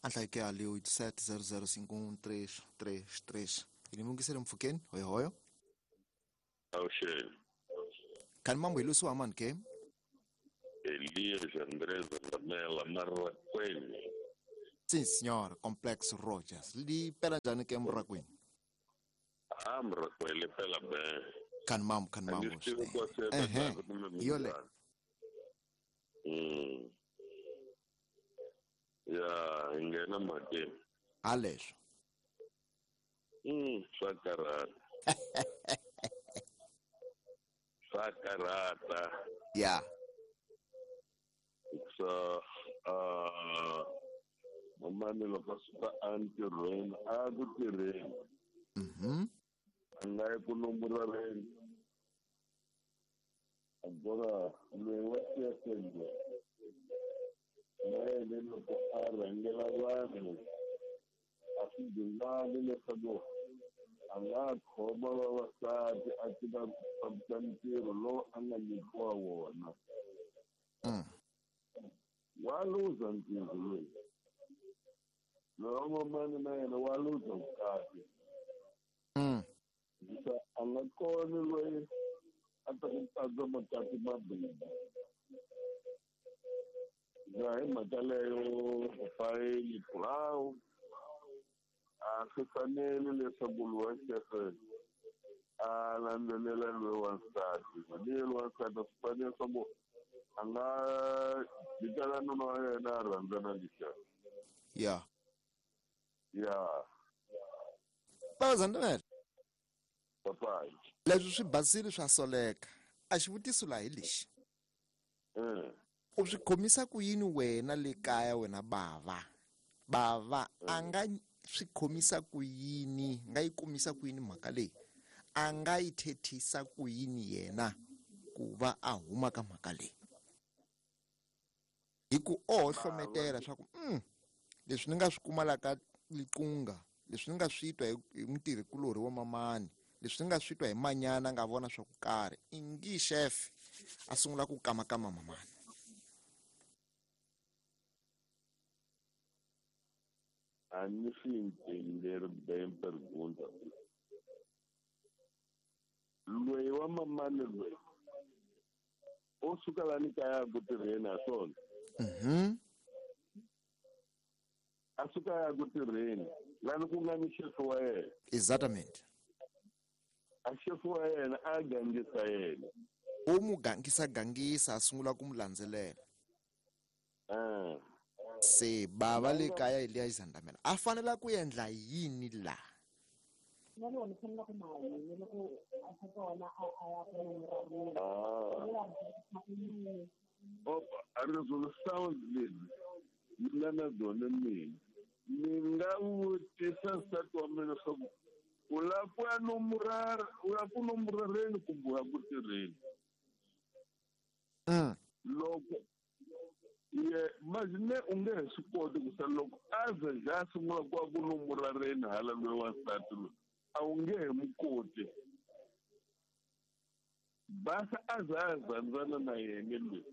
Anhlai ke ali 87005133. Ilimukisele mfukeni hoyo hoyo. Awusheni. Kan mambo ilusu aman ke? Elias Andrés Lamela Marraqueni. Sim senhor, Complexo Rogers. Li pela njani ke Mrakwini? Ah, Mrakwini pela bem. Kan mambo, kan mambo. Yole. Ya, ingena mate. Alex. Sakarata. Sakarata. Ya. So, mamani loko suka antirhweni a ku tirheni. A nga yi ku nomboreni. Agora loyi wa CSL na yena loko a rhangela vanhu a swi dingani leswaku a nga khoma vavasati a tiva ku fambisa ntirho lowu a nga nyikiwa wona. Wa luza ntirho loyi. Loyi mamani na yena wa luza vukati. A nga koni loyi a ta ku pandza makati mambirhi. Ya hi mhaka leyo papai Nicolau a swi fanele leswaku loyi wa xefe a landzelela loyi wansati. Mani loyi wansati a swi fanele leswaku a nga jikela nuna wa yena a rhandzana lexiya. Ya. Ya. Baba Zandamela. Papai. Leswi swi basile swa soleka. A xivutiso laha hi lexi. U swi khomisa ku yini wena le kaya wena bava? Bava a nga swi khomisa ku yini, nga yi kumisa ku yini mhaka leyi? A nga yi thethisa ku yini yena ku va a huma ka mhaka leyi? Hi ku o hlometela swa ku leswi ni nga swi kuma la ka Liqunga, leswi ni nga swi twa hi mutirhikulorhi wa mamani, leswi ni nga swi twa hi manyana nga vona swa ku karhi, ingi chef a sungula ku kamakama mamani. A ni swi entender bem pergunta. Loyi wa mamani loyi o suka la ni kaya ku tirheni ha swona. A suka ya ku tirheni lani ku nga ni xefu wa yena. Exatamente. A xefu wa yena a gangisa yena. U mu gangisa gangisa a sungula ku mu landzelela. Se bava le kaya Elias Zandamela a fanela ku endla yini la? Opa, a resolução dele ni nga na byona mina. Ni nga vutisa nsati wa mina leswaku u lava ku ya nomorara, u ya ku nomorareni kumbe u ya ku tirheni. Loko ye imagine u nge he swi koti ku sa loko a ze a sungula ku ya ku nomorareni hala loyi wansati loyi a wu nge he mu koti. Basa a za a zandzana na yena loyi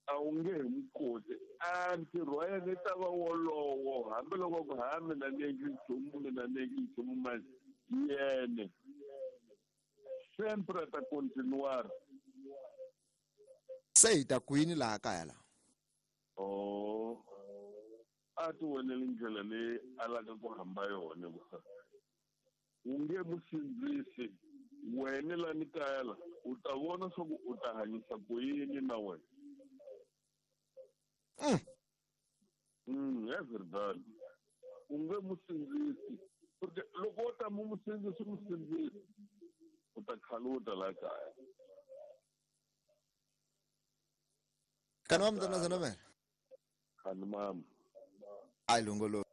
a wu nge he mu koti. A ntirho wa yena ta va wolowo hambiloko ku ha mina ni endli nchumu, mina ni endli nchumu manje yene sempre ta continuar. Se hi ta kwini laha kaya la? Oh, a ti voneli ndlela leyi a lavaka ku hamba yona ku u nge mu sindzisi wena la ni kaya la u ta vona swa ku u ta hanyisa ku yini na wena. É verdade. U nge mu sindzisi porque loko wo ta mu sindzisi mu sindzisi u ta khaluta la kaya. Kana wa mntana Zandamela? Kana mama. Ai longolo.